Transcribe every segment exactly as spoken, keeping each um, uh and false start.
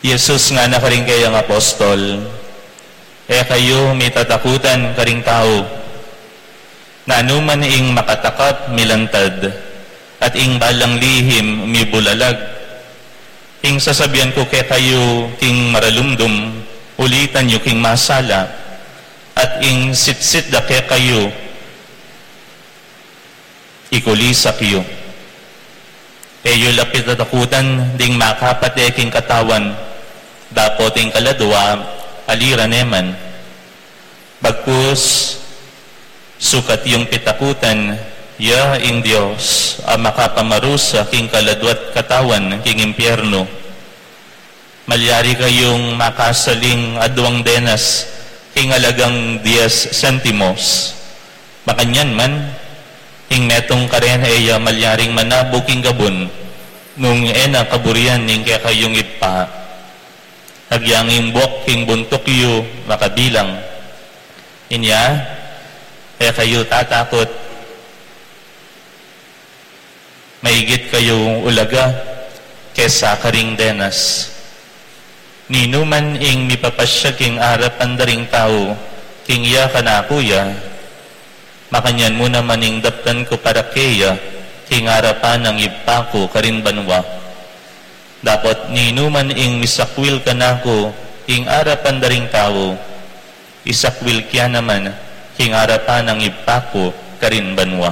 Jesus ngana karing kayang apostol, "E kayu mitatakutan karing tau. Nanuman ing makatakap milantad, at ing balang lihim mibulalag. Ing sasabian ku kekayu king maralumdum, ulitan yu king masala, at ing sitsit da kekayu, ikulisak yu. E yu la pitatakutan ding makapate king katawan, dapot ing kaladua, ali ra ne man. Bagkus, sukat yung pitakutan ya ing Dios a makapamarusa king kaladua't katawan king impyernu. Malyari kayung makasaling aduang denas king alagang dies sentimos. Makanyan man, ing metung karen e ya malyaring manabu king gabun, nung e na kaburian ning kekayung ibpa. Agyang ing buak king buntuk yu makabilang. Inya, e kayu tatakut. Maigit kayu ulaga kesa karing denas. Ninuman ing mipapasyag king arapan da ring tau, king iya kanaku ya, makanyan mu naman ing daptan ku para keya, king arapan nang Ibpa ku karin banua. Dapot ninuman ing misakwil kanaku king arapan da ring tau, isakwil kya naman king arapan nang Ibpa ku karin banua."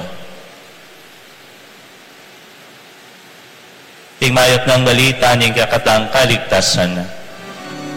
Ing mayap nang balita ning kekatang kaligtasan.